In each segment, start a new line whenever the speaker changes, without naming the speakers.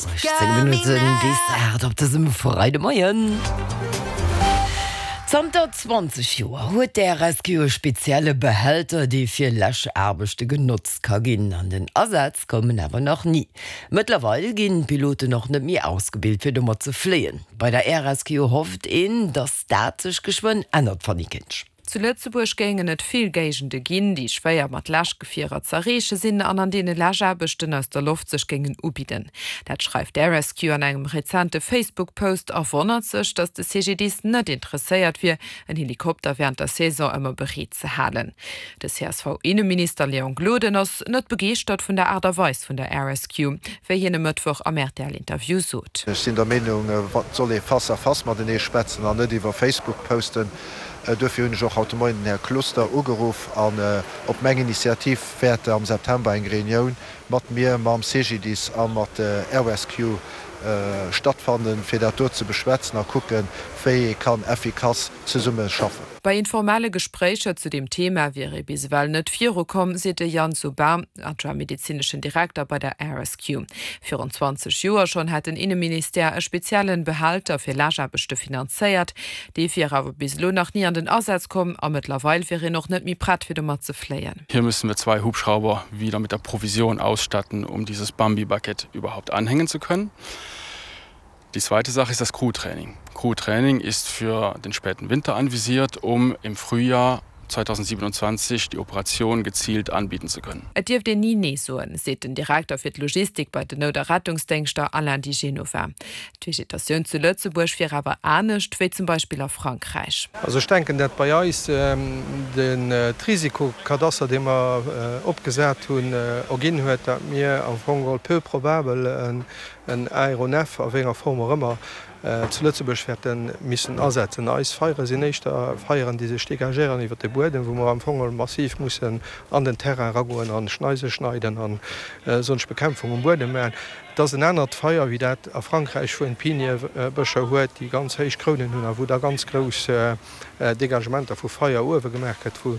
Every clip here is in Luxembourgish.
18 Minutten bis 8 op dësem Freidemoien. Zanter 20 Joer huet d'RSQ e spezielle Behälter, dee fir Läschaarbechte genotzt ka ginn. An den Asaz koum en awer nach ni. Mëttlerweil ginn d'Piloten och net méi ausgebilt, fir domat ze fléien. Bei der RSQ hofft een, datt dat sech geschwënn ännert, Fanny Kinsch.
Zu Lëtzebuerg géingen et vill Géigende ginn, déi schwéier mat Läschgefierer z'erreeche sinn an an deene Läschaarbechten aus der Loft sech géingen ubidden. Dat schreift d'Air-Rescue an engem rezente Facebook-Post a wonnert sech, datt de CGDIS net interesséiert wier, en Helikopter wärend der Saison ëmmer bereet ze halen. De CSV-Inneminister Léon Gloden ass net begeeschtert vun der Aart a Weis vun der Air-Rescue, wéi hien e Mëttwoch am RTL-Interview sot.
Ech sinn der Meenung, et soll ee face à face matenee schwätzen an net iwwer Facebook posten. Duerfir hunn ech och haut de Moien den Här Closter ugeruff an op meng Initiativ wäert am September eng Reunioun mat mir, mam CGDIS a mat Air Rescue stattfannen, fir dat do ze beschwätzen a kucken, wéi ee kann effikass zesumme schaffen.
Bei informelle Gespréicher zu deem Thema wier ee bis ewell net virukomm, seet de Yann Saubin, Adjoint medezineschen Direkter bei der Air Rescue. Virun 20 Joer schonn hätt den Inneministère e speziellen Behälter fir Läschaarbechte finanzéiert. Dee wier awer bis elo nach ni an den Asaz komm a mëttlerweil wier een och net méi prett fir domat ze fléien.
Hier müssen wir zwei Hubschrauber wieder mit der Provision ausstatten, um dieses Bambi-Bucket überhaupt anhängen zu können. Die zweite Sache ist das Crewtraining. Crewtraining ist für den späten Winter anvisiert, um im Frühjahr 2027 die Operation gezielt anbieten zu können.
Et dierft een ni Nee soen, seet den Direkter fir d'Logistik bei den Nout a Rettungsdéngschter Alain Di Genova. D'Vegetatioun zu Lëtzebuerg wier awer anescht wéi zum Beispill a Frankräich.
Also ech denken, dat bei eis den Risikokadaster, dee mer opgesat hunn, erginn huet, dat mir am Fong geholl peu probabel en Aéronef, a wéi enger Form och ëmmer, zu Lëtzebuerg wäerte missen asetzen. Eis Feiere sinn éischter Feieren, déi sech dégagéieren iwwer de Buedem, wou mer am Fong geholl massiv mussen an den Terrain eragoen a Schneise schneiden a sonsch Bekämpfung um Buedem maachen. Et ass en anert Feier wéi dat a Frankräich, wou een Piniebëscher huet, déi ganz héich Krounen hunn a wou da ganz grouss Dégagementer vu Feier uewe gemaach gëtt, wou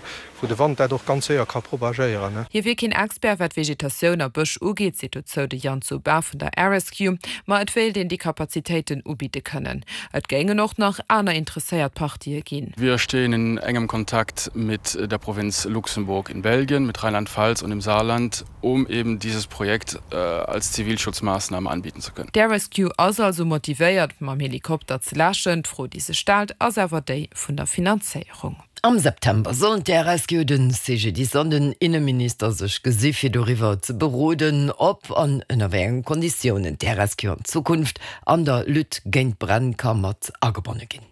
de Wand dat och ganz séier ka propagéieren.
Hie wier keen Expert wat Vegetatioun a Bësch ugeet, seet dozou de Yann Zobin vun der RSQ, ma et wéilt een déi Kapazitéiten ubidde kënnen. Et géingen och nach aner interesséiert Partië ginn.
Wir stehen in engem Kontakt mit der Provinz Luxemburg in Belgien, mit Rheinland-Pfalz und dem Saarland, um eben dieses Projekt als Zivilschutzmaßnahme anbieten zu können.
D'Air Rescue ass also motivéiert, mam Helikopter ze läschen. D'Fro, déi sech stellt, ass awer déi vun der Finanzéierung.
Am September sollen d'Air Rescue, den CGDIS an den Inneminister sech gesi fir doriwwer ze beroden, ob an ënner wéi engen Konditiounen d'Air Rescue an Zukunft an der Lutte géint d'Bränn ka mat agebonne ginn.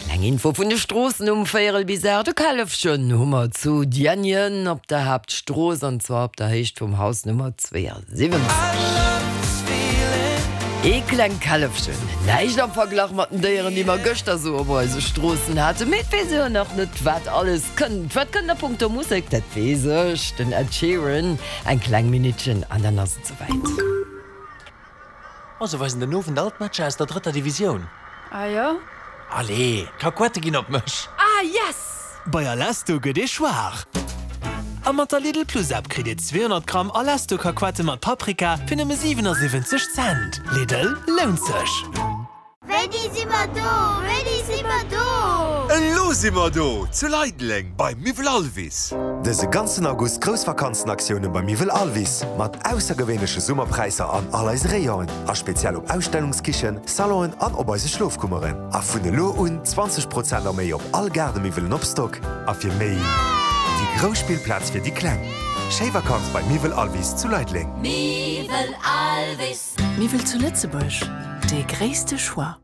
Kleng Info vun de Stroossen um véierel bis 8. E Källefchen hu mer zu Diänjen op der Haaptstrooss an zwar op der Héicht vum Haus Nummer 72. Ee klengt Källefchen, näischt am Verglach mat den Déieren, déi mer gëschter sou op eise Stroossen haten. Mee et weess ee jo nach net, wat alles kënnt. Wat kënnt a punkto Musek, dat weess ech, den Ed Sheeran. Eng kleng Minuttchen an dann ass et souwäit.
Oh, se weisen den Owend all d'Matcher aus der drëtter Divisioun.
Ah jo?
Allez, d'Kakuette ginn op mech!
Ah yes!
Bei Alesto gëtt ee schwaach! A mat der Lidl Plus App kritt Dir 200 Gramm Alesto Kakuette mat Paprika fir nëmme 77 Cent. Lidl, lount sech!
Wéini si mer do? Wéini si mer do?
Elo si mer do! Zu Leideleng beim Miwwel Alvis.
Dëse ganzen August grouss Vakanzenaktioune beim Miwwel Alvis mat aussergewéinleche Summerpräisser an all eise Rayonen a speziell op Ausstellungskichen, Salonen an op eise Schlofkummeren. A vun elo un 20 Prozent a méi op all Gaardemiwwelen op Stock. A fir méi Déi grouss Spillplaz fir déi Kleng. Schéi Vakanz bei Miwwel Alvis zu Leideleng.
Miwwel Alvis.
Miwwel zu Lëtzebuerg, dee gréisste Choix.